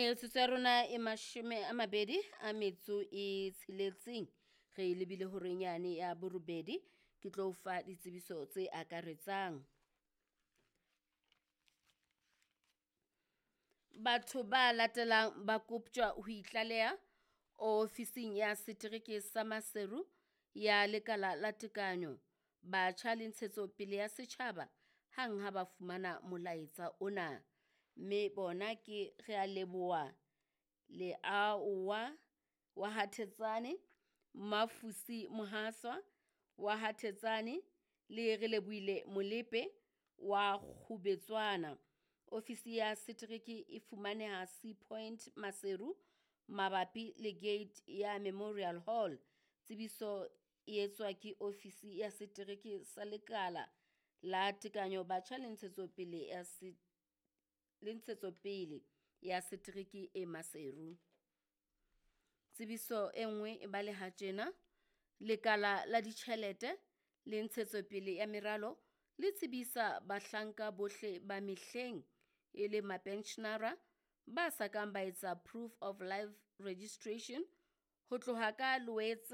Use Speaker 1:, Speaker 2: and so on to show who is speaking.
Speaker 1: Metsotso ya rona e 26 re lebile horeng yane ya borobedi. Ke tlo o fa ditsebiso tse akaretsang. Batho ba latelang ba koptjwa ho itlaleha ofising ya setereke sa Maseru ya Lekala la Tekano, Batjha le Ntshetsopele ya Setjhaba hang ha ba fumana molaetsa ona, mme bona ke Realeboha Leauwa wa Ha Thetsane, Mafusi Mohaswa wa Ha Thetsane le Relebohile Molepe wa Kgubetswana. Ofisi ya setereke e fumaneha Sea Point Maseru mabapi le gate ya Memorial Hall. Tsebiso e etswa ke ofisi ya setereke sa Lekala la Tekanyo Batjha le Ntshetsopele ya se le Ntshetsopele ya Setereke e Maseru. Tsebiso e nngwe e baleha tjena, Lekala la Ditjhelete le Ntshetsopele ya Meralo le tsebisa bahlanka bohle ba mehleng e leng mapenshenara ba sa kang ba etsa proof of life registration ho tloha ka Loetse.